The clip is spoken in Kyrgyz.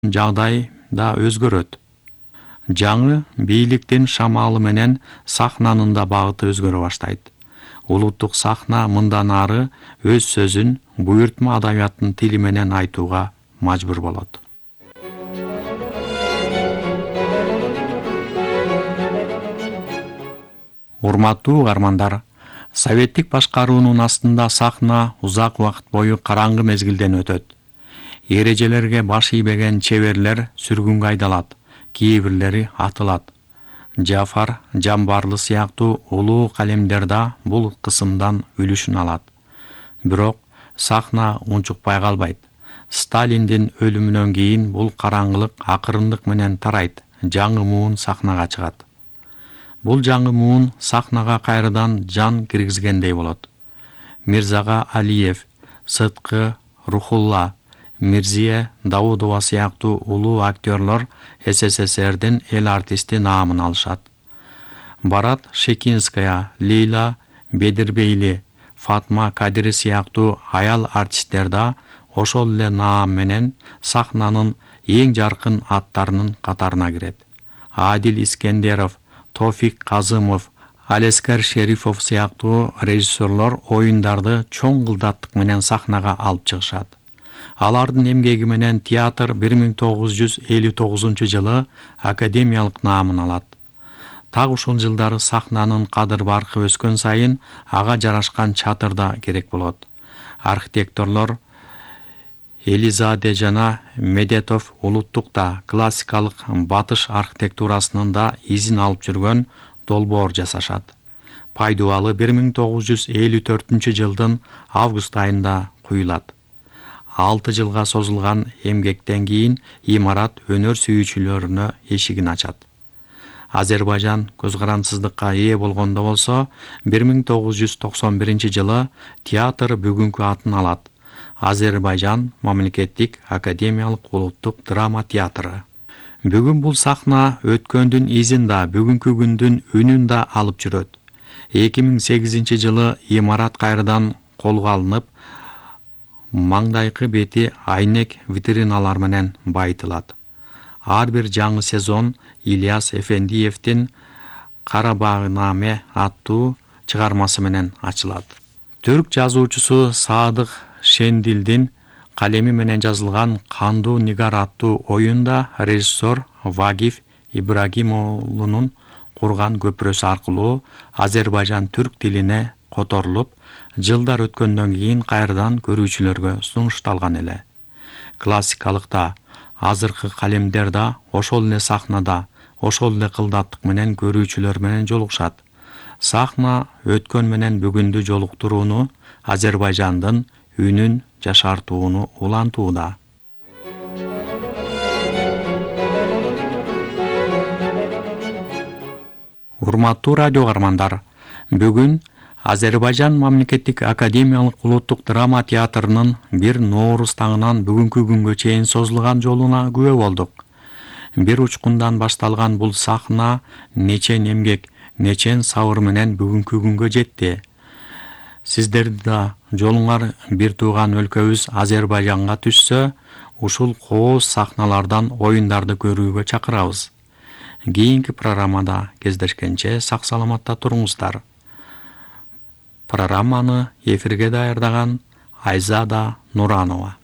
жагдай да өзгөрөт. Жаңы бийликтин шамалы менен сахнанын да багыты өзгөрө баштайт. Улуттук сахна мындан ары өз сөзүн буйртма адабияттын тили менен айтууга мажбур болот. Урматтуу угармандар, советтик башкаруунун астында сахна узак убакыт бою караңгы мезгилден өтөт. Эрежелерге баш ийбеген чеберлер сүргүнгө айдалат, кээ бирлери атылат. Жафар Жамбарлы сыяктуу улуу калемдер да бул кысымдан үлүшүн алат. Бирок сахна унчукпай калбайт. Сталиндин өлүмүнөн кийин бул караңгылык акырындык менен тарайт, жаңы муун сахнага чыгат. Бул жаңы муун сахнага кайрадан жан киргизгендей болот. Мирзага Алиев, Сыткы Рухулла, Мирзие Даудова сыяктуу улуу актерлор СССРдин эл артисти наамын алышат. Барат Шекинская, Лейла Бедирбейли, Фатма Кадири сыяктуу аял артисттер да ошол эле наам менен сахнанын эң жаркын аттарынын катарына кирет. Адил Искендеров, Тофик Казымов, Алескер Шерифов сыяктуу режиссерлор оюндарды чоң кылдаттык менен сахнага алып чыгышат. Алардын эмгеги менен театр 1959-жылы академиялык наамын алат. Так ушул жылдары сахнанын кадыр-баркы өскөн сайын ага жарашкан чатыр да керек болот. Архитекторлор Элизаде жана Медетов улуттук да классикалык батыш архитектурасынын да изин алып жүргөн долбоор жасашат. Пайдубалы 1954-жылдын август айында куюлат. 6 жылга созулган эмгектен кийин имарат өнөр сүйүүчүлөрүнө эшигин ачат. Азербайжан көз карансыздыкка ээ болгондо болсо 1991-жылы театр бүгүнкү атын алат. Азербайжан мамлекеттик академиялык улуттук драма театры. Бүгүн бул сахна өткөндүн изин да, бүгүнкү күндүн үнүн да алып жүрөт. 2008-жылы имарат кайрадан колго алынып, маңдайкы бети айнек витриналар менен байытылат. Ар бир жаңы сезон Ильяс Эфендиевдин Карабагнаме аттуу чыгармасы менен ачылат. Түрк жазуучусу Садык Шендилдин калеми менен жазылган Кандуу Нигар аттуу оюнда режиссер Вагиф Ибрагимовлунун курган көпүрөсү аркылуу Азербайжан түрк тилине которулуп, жылдар өткөндөн кийин кайрадан көрүүчүлөргө сунушталган эле. Классикалыкта азыркы калемдер да ошол эле сахнада, ошол эле кылдаттык менен көрүүчүлөр менен жолугушат. Сахна өткөн менен бүгүндү жолуктурууну, Азербайжандын үнүн жашартууну улантууда. Урматтуу радио угармандар, бүгүн Азербайжан мамлекеттик академиялык улуттук драма театрынын 1 Ноорус таңынан бүгүнкү күнгө чейин созулган жолуна күбө болдук. Бир учкундан башталган бул сахна нечен эмгек, нечен сабыр менен бүгүнкү күнгө жетти. Сиздерди да жолуңар бир тууган өлкөбүз Азербайжанга түшсө, ушул кооз сахналардан оюндарды көрүүгө чакырабыз. Кийинки программада кездешкенче сак саламатта туруңуздар. Программаны эфирге даярдаган Айзада Нуранова.